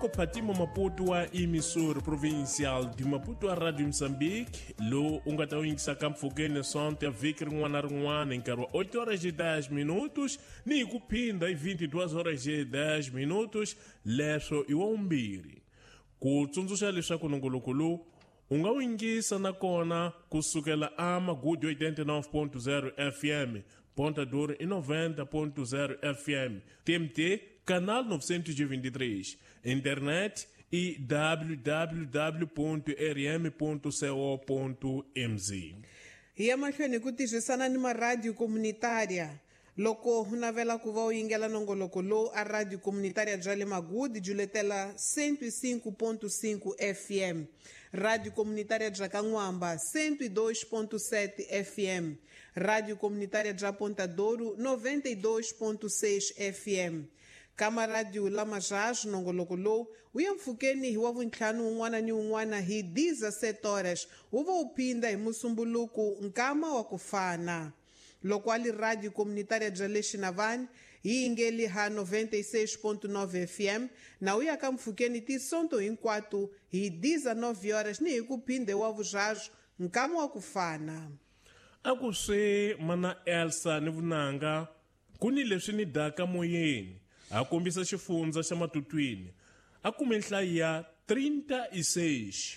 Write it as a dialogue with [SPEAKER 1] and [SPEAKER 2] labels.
[SPEAKER 1] Ku Fatima Maputo wa emissor provincial de Maputo a Radio Moçambique, lowu u nga ta wu yingisaka mpfhukeni sonto ya vhiki rin'wana na rin'wana hi nkarhi wa 8 horas e 10 minutos ni hi ku phinda hi 22 horas e 10 minutos, leswo i wa vumbirhi. Ku tsundzuxa leswaku nongoloko lowu u nga wu yingisa nakona ku sukela a Magudu 89.0 FM, Ponta Duro i 90.0 FM, TMT canal 923, internet i www.rm.co.mz.
[SPEAKER 2] Hi ya mahlweni hi ku tirhisana ni maradiyo komunitaria. Loko u navela ku va u yingela nongoloko lowu a Radio Comunitária bya le Magudi juletela 105.5 FM, Radio Comunitária bya Kan'wamba 102.7 FM, Radio Comunitária bya Ponta Douro 92.6 FM. Kama Radio Lama Jazz nongoloko lowu wu ya mpfhukeni hi wa vuntlhanu wun'wana ni wun'wana hi 17 horas wu va wu phinda hi musumbuluku nkama wa ku fana. Loko a li Radio Comunitária bya le Xinavani yi yingeli ha 96.9 FM na u ya ka mpfhukeni tisonto hinkwato hi 19 horas ni hi ku phinde wa vurharu nkama wa ku fana.
[SPEAKER 1] A ku swi mana Elsa ni vunanga ku ni leswi ni daka moyeni a kombisa xifundza xa matutwini a kume nhlayo ya 36.